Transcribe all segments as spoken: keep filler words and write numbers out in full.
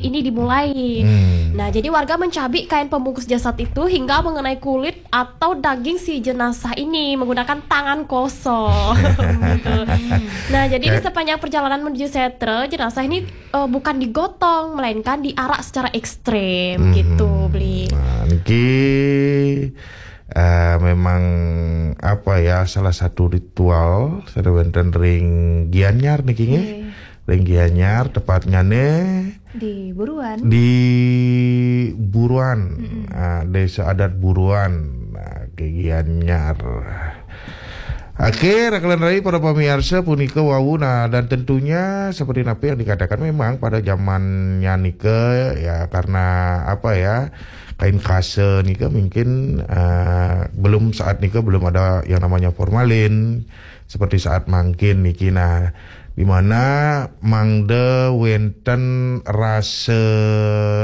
ini dimulai. Hmm. Nah, jadi warga mencabik kain pembungkus jasad itu hingga mengenai kulit atau daging si jenazah ini menggunakan tangan kosong. Gitu. Nah, jadi di sepanjang perjalanan menuju setra, jenazah ini uh, bukan digotong, melainkan diarak secara ekstrem. Hmm. Gitu, Bli. Nah, niki uh, memang apa ya, salah satu ritual sanajan wonten ring Gianyar niki nggih. Ring Gianyar, tepatnya nih di Buruan. Di Buruan. Mm-mm. Nah, Desa Adat Buruan. Nah, Gianyar. Oke, Rakelan Rai, para pemirsa, punika wau. Nah, dan tentunya seperti apa yang dikatakan, memang pada zamannya nika ya, karena apa ya, kain kasa nika mungkin uh, belum, saat nika belum ada yang namanya formalin seperti saat mangkin niki. Nah, di mana mangda wonten rasa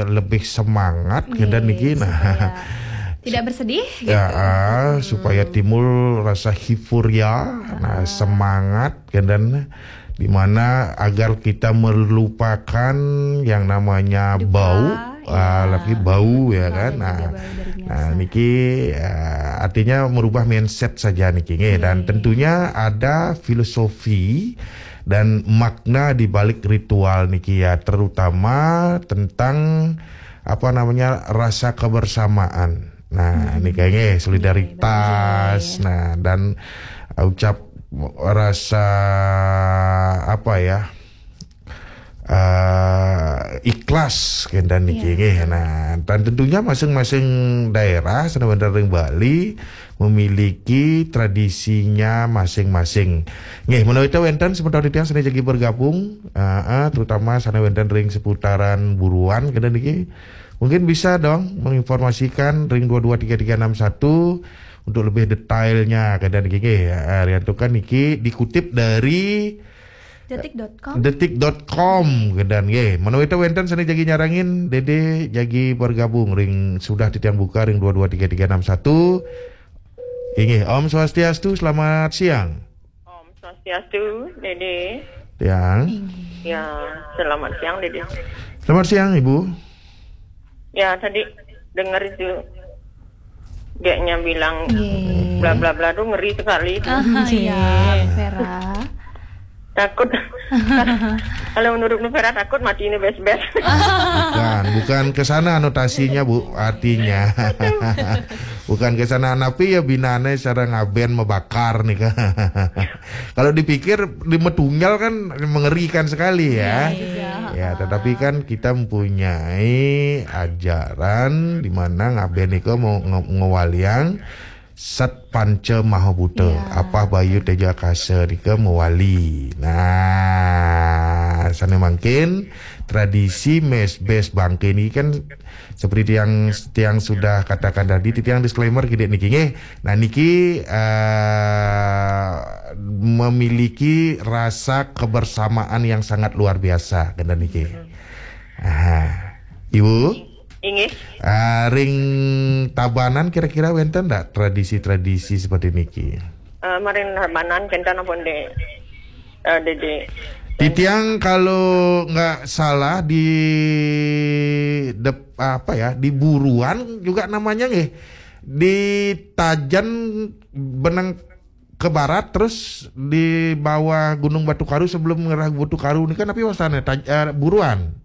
lebih semangat, nggih, kenten niki. Nah, supaya tidak bersedih, ya, gitu. Ah, supaya timbul rasa hifuria, nah, semangat, kenten, di mana agar kita melupakan yang namanya duka, bau, ah, ya, lagi bau, ya kan. Nah, bau dari, nah, biasa, niki uh, artinya merubah mindset saja niki nggih. Dan tentunya ada filosofi dan makna di balik ritual niki ya, terutama tentang apa namanya, rasa kebersamaan. Nah, hmm, niki nggih, solidaritas. Nggih, betul. Nah, dan ucap rasa apa ya, uh, ikhlas kenten niki nggih. Nah, dan tentunya masing-masing daerah sanajan wonten ring Bali memiliki tradisinya masing-masing. Nggih, menawi wonten semeton titiang sane jagi bergabung, uh, uh, terutama sanajan wonten ring seputaran Buruan kenten niki, mungkin bisa dong menginformasikan ring dua dua tiga tiga enam satu untuk lebih detailnya kenten niki nggih. Uh, riantukan niki dikutip dari detik dot com. Detik dot com, kenten nggih. Menawi wonten sane jagi nyarengin, Dede jagi bergabung ring sudah titiang buka ring dua dua tiga tiga enam satu. Inggih, Om Swastiastu, selamat siang. Om Swastiastu, Dede. Siang. Inggih. Ya, selamat siang, Dede. Selamat siang, Ibu. Ya, tadi dengar itu, dianya bilang, nggih, bla bla bla tuh ngeri sekali itu. Ah, iya, nggih, Vera. Takut. Kalau menurut Nu Vera, takut mati ini bes-bes. Bukan, bukan ke sana anotasinya, Bu, artinya. Bukan ke sana, tapi ya binane secara ngaben mebakar nih kan. Kalau dipikir di metunggal kan mengerikan sekali ya. Iya juga. Ya, tetapi kan kita mempunyai ajaran di mana ngaben nika mau nge-, ngewaliang Sat Panca Maha Buta, iya, Apah, Bayu, Tejo, Akasa nika mewali. Nah, sane mangkin tradisi mes bes bangke niki kan seperti tiang, tiang sudah katakan tadi, tiang disclaimer kidik niki nggih. Nah, niki uh, memiliki rasa kebersamaan yang sangat luar biasa kenten niki. Aha. Ibu? Inggih. Ah, ring Tabanan kira-kira wenten ndak tradisi-tradisi seperti niki? Eh, maring Tabanan kenten ampun, Dek. Eh, Dede. Titiang kalau nggak salah di dep-, apa ya, di Buruan juga namanya nggih. Di Tajen benang ke barat, terus di bawah Gunung Batu Karu, sebelum ngerah Batu Karu nika, tapi wastane Taj-, eh, Buruan.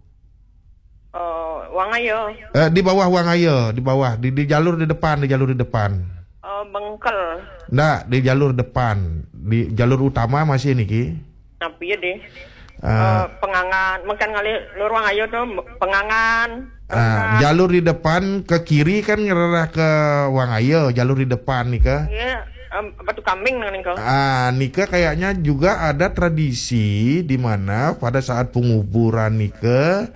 Oh, Wangaya. Eh, di bawah Wangaya, di bawah, di, di jalur di depan, di jalur di depan. Oh, Bengkel. Ndak, di jalur depan, di jalur utama masih niki. Tapi ya deh. Eh, eh, Pengangan, makan ngalih luar Wangaya tuh, Pengangan. Ah, Pengangan. Jalur di depan ke kiri kan ngererah ke Wangaya, jalur di depan nika. Iya, em, Batu Kambing nang nika. Ah, nika kayaknya juga ada tradisi di mana pada saat penguburan nika,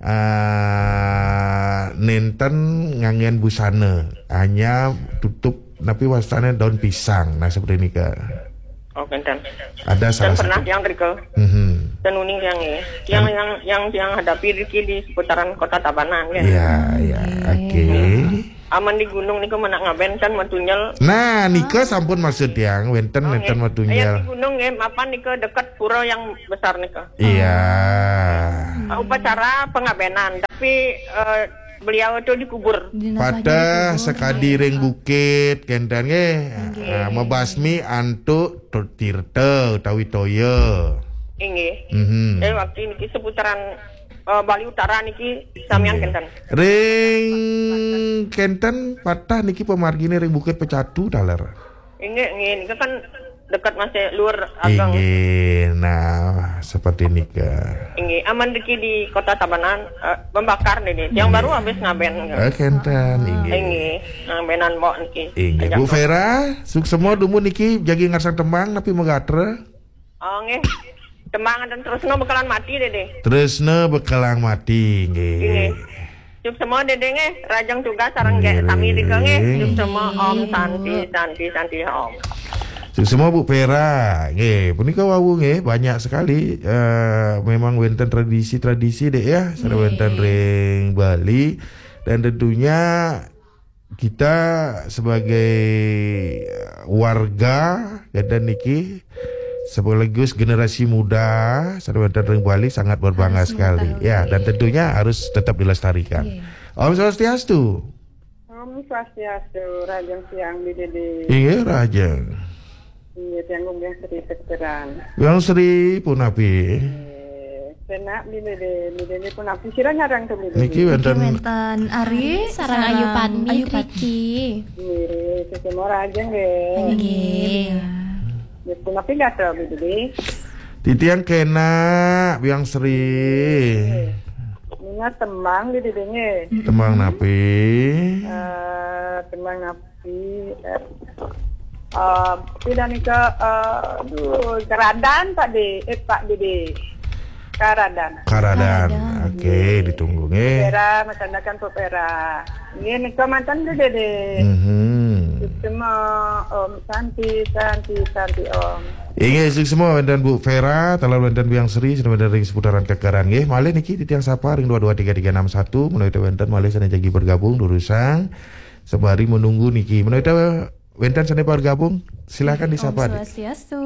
ah, nenten nganggen busana, hanya tutup, tapi wastane daun pisang. Nah, seperti nika. Oh, kenten. Ada salah satu. Dan pernah tiang rike. Mhm. Dan uning tiang ya. Tiang yang, yang tiang hadapi riki di seputaran kota Tabanan ya. Iya, iya. Oke. Oke. Aman di gunung niku menak ngaben kan metunjel. Nah, nika sampun maksud tiang, wenten, oh, wenten nggih. Metunjel. Ayat di gunung nggih, mapan nika dekat pura yang besar nika. Iya. Ah, upacara pengabenan. Tapi eh, beliau itu dikubur. Jenazahnya patah dikubur. Sakadi ring bukit, kenten nggih. Nggih. Ah, mabasmi antuk tu-, tirta utawi toya. Inggih. Mhm. Jadi waktu niki seputaran eh, Bali Utara niki samian. Inggih. Kenten. Ring kenten patah niki pamargine ring Bukit Pecatu taler. Inggih, inggih. Nika kan dekat masih luar agang. Inggih. Nah, seperti nika. Inggih. Aman diki di Kota Tabanan eh, membakar nih, nih. Yang baru habis ngaben. Eh, kenten, inggih. Inggih. Ngabenan mbok niki. Inggih. Ajak Bu Vera, suksema dumun niki jagi ngarsang tembang napi magatra? Oh, nggih. Tembang dan terusno bekelan mati, Dede. Terusno bekelang mati, nggih. Nggih. Suksema Dede nggih, rajeng tugas sareng nggih sami nika nggih. Suksema Om Santi, Santi, Santi Om. Suksema Bu Vera, nggih. Punika wau nggih, banyak sekali eh, memang wenten tradisi-tradisi dek ya, sareng wenten ring Bali dan tentunya kita sebagai eh, warga dan niki sekaligus generasi muda sareng wenten ring Bali sangat berbangga sekali. Ya, dan tentunya harus tetap dilestarikan. Iya. Om Swastiastu. Om Swastiastu, rajeng siang, Bidede. Iya, rajeng. Iya, tiang Gung Biang Sri Sekteran. Biang Sri punapi? Eh, Kena Bidede, Bidede punapi? Sira ngarang tu Bidede? Niki wenten Ari sareng Ayu Padmi, Ayu Padmi. Nggih, sesama rajeng nggih. Nggih. Nggih, punapi gatra Bidede? Titiang kena, Biang Sri. Nggih. Nina tembang Bidede nggih. Tembang napi? Eh, tembang napi? Eh, eh, pida nika, eh, aduh, Karadan Pak De, eh, Pak Dede. Karadan. Karadan. Karadan. Oke, ditunggu nggih. Pera, masandakan Pak Pera. Nggih, nika manten Dede. Mhm. Suksema Om Santi, Santi, Santi Om. Inggih, suksema wenten Bu Vera, taler wenten Biang Sri, sareng wenten ring seputaran Kakaran nggih. Malih niki titiang sapa ring dua dua tiga tiga enam satu, menawi wenten malih sane jagi bergabung durusang sembari menunggu niki. Menawi wenten sane bergabung, silakan disapa. Om Swastiastu.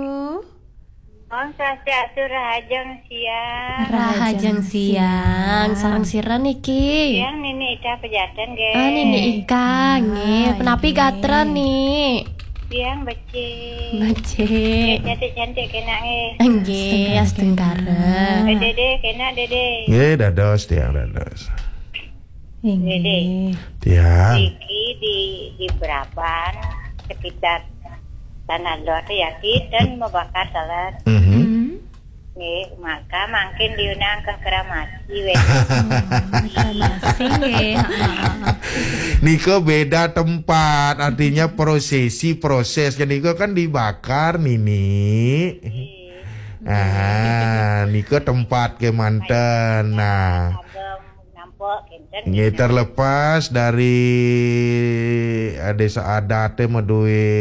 Om Swastiastu, rahajeng siang. Rahajeng siang. Sareng sira niki? Tiang Nini Ika Pejaten nggih. Ah, Nini Ika nggih. Punapi gatra, Ni? Tiang becik. Becik. Cantik-cantik kena nggih. Nggih, astungkara. Dede kena Dede. Nggih, dados tiang dados. Inggih. Tiang. Niki di di Beraban sekitar Tanah Lot ya, kita membakar taler. Mhm. Nggih, maka mangkin diundang ke kremasi weh. Kremasi nggih. Nika beda tempat, artinya prosesi, prosesnya nika kan dibakar, Nini. Ah, nika tempat kemanten. Nah, nampak kenten. Nggih, terlepas dari eh, desa adat eh, madue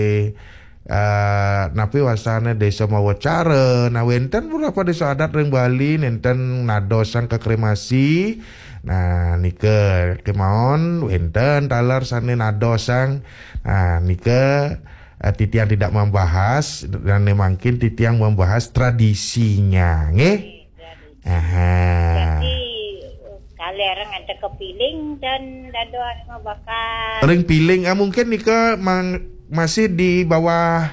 eh, napi wasane desa mawacara. Nah, wenten beberapa desa adat ring Bali nenten nadosang ke kremasi. Nah, nika kemawon wenten taler sane nadosang. Nah, nika eh, titiang tidak membahas dan mangkin titiang membahas tradisinya, nggih. Aha. Jadi kaler ngantek ke piling dan dados mabakar. Ring piling, ah, mungkin nika mang, masih di bawah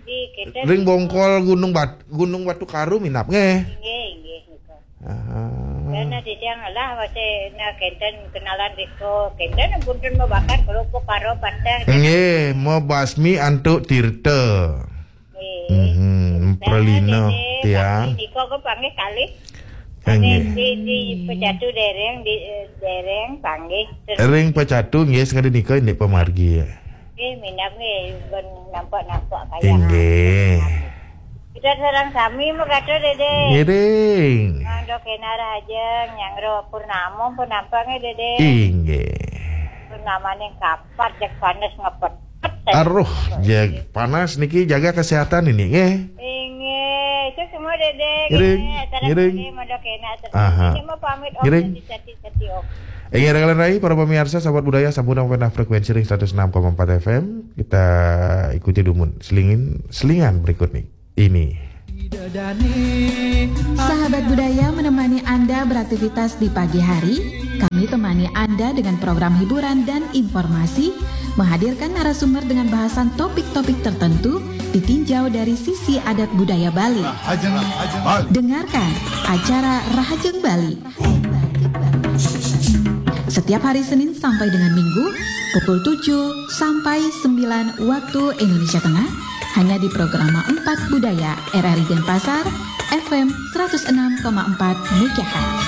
di kenten ring bongkol Gunung Bat, Gunung Batu Karu minap nggih. Nggih, nggih, nggih. Aha. Karena titiang lah masih na kenten kenalan riko kenten punten mabakar kerupuk karo pateh. Nggih, mabasmi antuk tirta. Nggih. Mhm, pralina, Dede, tiang. Niko ke panggih kali. Nggih. Di, di Pecatu dereng, di eh, dereng panggih. Ring Pecatu nggih sekali nika indik pamargi. Nggih, minap nggih, ben nampak-nampak kaya. Inggih. Kita sareng sami mekata Dede. Ngiring. Mangda kena rahajeng, nyangro purnama pun nampak nggih Dede. Inggih. Purnamane kapat, jak panas ngepet. Aruh, jag panas niki jaga kesehatan ini nggih. Inggih, itu semua Dede. Ngiring, ngiring. Aha. Ini mah pamit Om. Ngiring. Sati-sati Om. Inggih, rekan rai, para pemirsa, sahabat budaya, sampun nampi frekuensi ring seratus enam koma empat F M. Kita ikuti dumun selingin, selingan berikut nih. Ini. Sahabat budaya menemani Anda beraktivitas di pagi hari. Kami temani Anda dengan program hiburan dan informasi, menghadirkan narasumber dengan bahasan topik-topik tertentu, ditinjau dari sisi adat budaya Bali. Dengarkan acara Rahajeng Bali. Setiap hari Senin sampai dengan Minggu, pukul tujuh sampai sembilan waktu Indonesia Tengah, hanya di Programa empat Budaya R R I Denpasar, F M seratus enam koma empat megahertz.